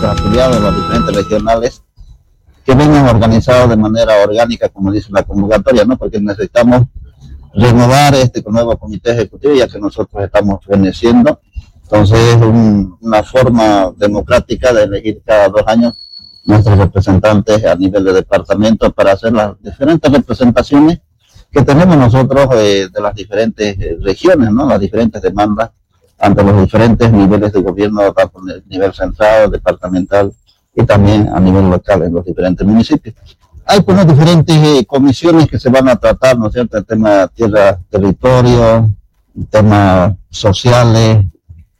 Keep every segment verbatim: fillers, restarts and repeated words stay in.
nuestros afiliados, los diferentes regionales, que vengan organizados de manera orgánica, como dice la convocatoria, ¿no? Porque necesitamos renovar este nuevo comité ejecutivo, ya que nosotros estamos feneciendo. Entonces es un, una forma democrática de elegir cada dos años nuestros representantes a nivel de departamento para hacer las diferentes representaciones que tenemos nosotros eh, de las diferentes regiones, ¿no? Las diferentes demandas ante los diferentes niveles de gobierno, tanto en el nivel central, departamental y también a nivel local en los diferentes municipios. Hay pues diferentes eh, comisiones que se van a tratar, ¿no es cierto?, el tema tierra, territorio, temas sociales,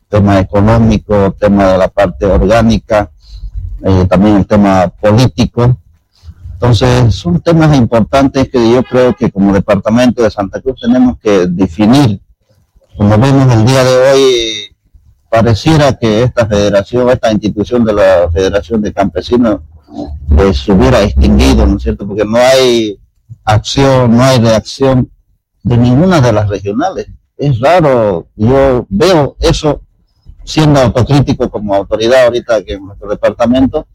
tema económico, tema de la parte orgánica, eh, también el tema político. Entonces, son temas importantes que yo creo que como departamento de Santa Cruz tenemos que definir. Como vemos el día de hoy, pareciera que esta federación, esta institución de la Federación de Campesinos, pues, se hubiera extinguido, ¿no es cierto? Porque no hay acción, no hay reacción de ninguna de las regionales. Es raro, yo veo eso siendo autocrítico como autoridad ahorita que en nuestro departamento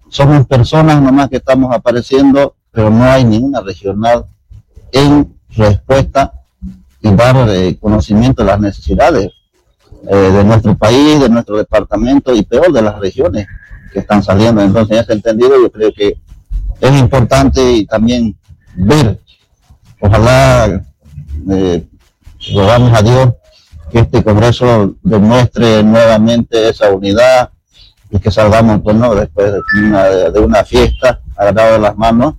somos personas nomás que estamos apareciendo, pero no hay ninguna regional en respuesta y dar eh, conocimiento de las necesidades eh, de nuestro país, de nuestro departamento y peor de las regiones que están saliendo. Entonces, en ese entendido, yo creo que es importante y también ver, ojalá eh, rogamos a Dios que este Congreso demuestre nuevamente esa unidad y que salgamos, pues, ¿no?, después de una, de una fiesta, agarrado de las manos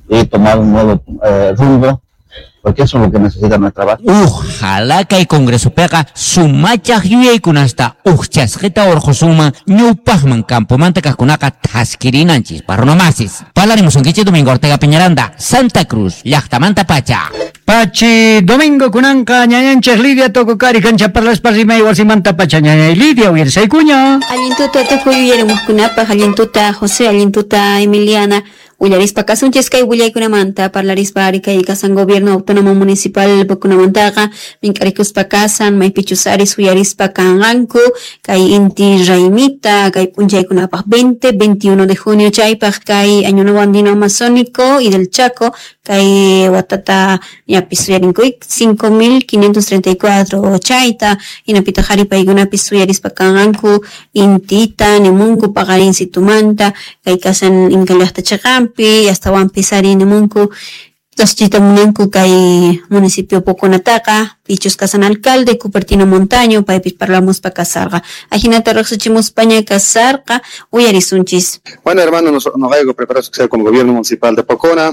y tomar un nuevo eh, rumbo, porque eso es lo que necesita nuestra base. Ojalá que el Congreso pega sumachaj yuyaykunasta ujchasqita urqhusunman ñawpaqman campomanta kaqkunaqa thaskirinanchis parronomasis. Parlarimusunkichik Domingo Ortega Peñaranda, Santa Cruz, llaqtamanta pacha. Pachi Domingo kunanqa ñañanchik Lidia Tococari kancha parlaspa rimay wasimanta pacha ñañay Lidia uyarisaykuña. Allintuta tukuy uyarimuqkunapaq, allintuta José, allintuta Emiliana. Willarispa kasunchis kay willaykunamanta parlarispa ari kay kasan gobierno autónomo municipal pukunamantaqa mink'arikuspa kasan maypichus ari suyarispa kanqanku kay inti raymita kay p'unchaykunapaq veinte, veintiuno de junio chaypaq kay Año Nuevo Andino Amazónico y del Chaco kay watata ñapis suyarinkuy cinco mil quinientos treinta y cuatro chayta hinapitaq ari paykunapis suyarispa kanqanku intita nimunku paqarin situmanta kay kasan inka llaqta chiqan pi hasta pisari nimunku tashchita munanku kay municipio Poconataqa pichus kasan alcalde Cupertino Montaño paypis parlamuspa kasarqa ajinata riqsichimuspaña kasarqa uyarisunchis. Bueno, hermano, nos, nos hay preparados que sea como gobierno municipal de Pocona,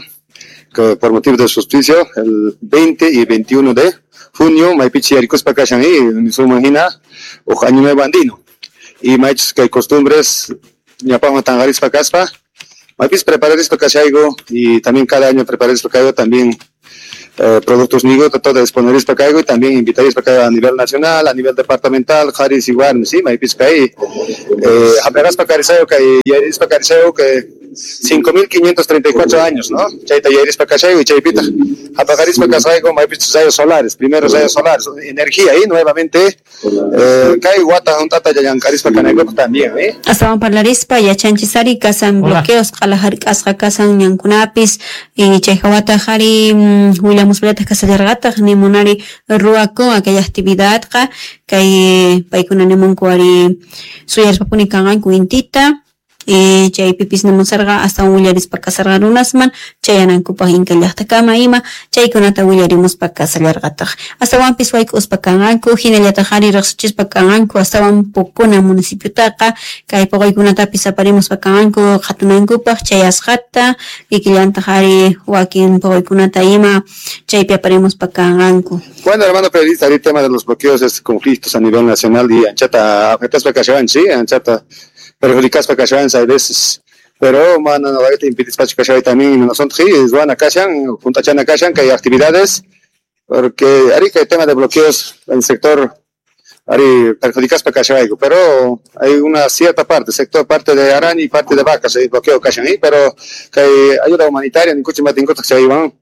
que por motivo de su auspicio el veinte y veintiuno de junio maypichi yarikuspa kashan y sumajina o año nuevo andino y maychus que hay costumbres ñapajman tanqarispa kaspa Mapis preparar esto cachaigo y también cada año preparar esto caigo también eh, productos nigo, todo exponer esto caigo y también invitar esto caigo a nivel nacional, a nivel departamental, jaris igual, sí, maipis cai, eh, apenas pa carisayo que yaris pa carisayo que cinco mil quinientos treinta y cuatro años, ¿no? Chaita yaris pa cachaigo y chaipita. Apagaris pa cachaigo maipis rayos solares, primeros rayos solares, energía ahí nuevamente, eh, kai guata juntata yayancaris pa canaigo también, ¿eh? Hasta van parlarispa yachanchisari kasan bloqueos qalajark'asqa kasan ñankunapis y chayjawata jari willamuspallataj kasallarqataq nimunari ruwakun aquella actividadqa kay paykuna nimunku ari suyarispapuni kanqanku intita y chaypipis nimusarqa hasta willarispa kasarqa runasman chayanankupaq inka llaqtakama ima chaykunata willarimuspa kasallarqataq astawanpis wayk'uspa kanqanku hinallataq ari riqsichispa kanqanku astawan Pocona municipiotaqa kay puquykunatapis aparimuspa kanqanku qhatunankupaq chayasqata kikillantaq ari wakin puquykunata ima chaypi aparimuspa kanqanku. Bueno, hermano periodista, el tema de los bloqueos, es conflictos a nivel nacional y anchata afectaspa kashawan, sí, anchata perjudicaspa kashawan hay veces, pero mano no va a impedir kashawan también nosotros es buena kashan, juntachana kashan que hay actividades porque ari que el tema de bloqueos en el sector ari perjudicaspa kashawan, pero hay una cierta parte, sector parte de Arani y parte de vacas hay bloqueo kashan, pero que hay ayuda humanitaria ni kuchi matin kuchi iban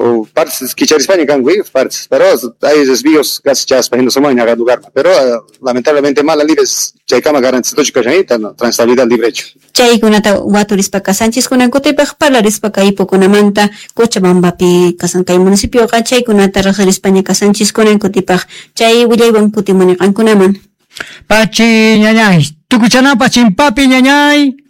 O partes kicharispaña kanku, partes, pero hay desvíos casi chaspa en cada lugar, pero uh, lamentablemente mala libres chaykama garantizatochu kashan transitabilidad libre hecho. Chaykunata waturispa kasanchis kunan kutipaq parlarispa kay Poconamanta Cochabambapi kasan kay municipioqa chaykunata riqsirispaña kasanchis kunan kutipaq chay willaywan kutimuni qankunaman. Pachi ñañay, tukuchanapa chimpapi ñañay.